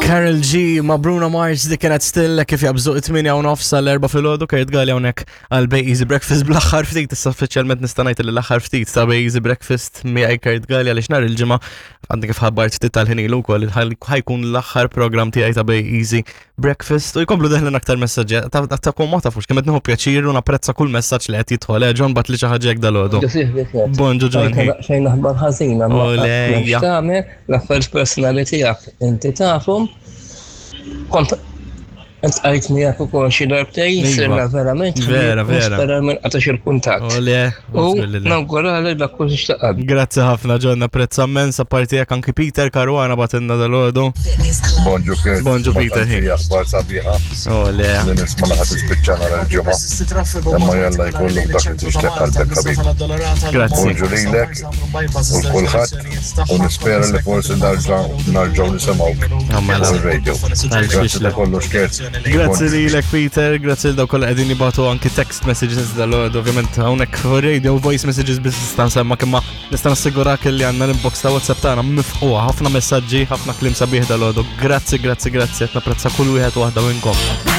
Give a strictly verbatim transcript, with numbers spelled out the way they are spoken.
Karol G ma' Bruno Mars, dik kienet Still. Kif jaqbżu it-tmienja u nofs għall-erbgħa filgħodu, Kurt Galea hawnhekk għal Bay Easy Breakfast bl-aħħar ftit, issa uffiċjalment nista' ngħid li l-aħħar ftit ta' Bay Easy Breakfast miegħi Kurt Galea, għaliex nhar il-Ġimgħa, għandi kif ħabbart ftit tal-ħin ilu wkoll, ħa jkun l-aħħar program tiegħi ta' Bay Easy Breakfast. U jkomplu deħlin aktar messaġġi ta' kom, ma tafux kemm qed nieħu pjaċir u napprezza kull messaġġ li qed jidħol. Eh, John bagħatli xi ħaġa hekk dalgħodu. Bonġu, John. Xejn aħbar ħażina, ma Olejja. tagħmel l-affarijiet personali tiegħek inti tafhom. Kont Iltqajt miegħek ukoll xi darbtejn, Iva. sirna verament. Vera, vera. Nispera ma nqatax il-kuntatt. Ole, U nawgurali dak kull xtaqad. Grazzi ħafna, John, napprezza immens. Apparti jekk, anki Peter Caruana bagħtilna dalgħodu. Bonġu, Kurt. Bonġu, Peter. Hi. Aħbar sabiħa. Ole. Li nisma' li ħa tispiċċa nhar il-Ġimgħa. Imma jalla jkollok dak li tixtieq qalbek, ħabib. Grazzi. Bonġu lilek u l-kulħadd u nispera li forsi narġa' narġgħu nisimgħuk Mela. fuq il-radio. Grazzi ta' kollox, Kurt. Grazzi lilek, Peter, grazzi lil dawk kollha qegħdin jibagħtu anki text messages dalgħodu. Ovvjament hawnhekk fuq radio voice messages biss nista' nsemma, imma nista' nassigurak li għandna l-inbox ta' WhatsApp tagħna mifqugħa, ħafna messaġġi, ħafna kliem sabiħ dalgħodu. Grazzi, grazzi, grazzi, qed napprezza kull wieħed u waħda minnkom.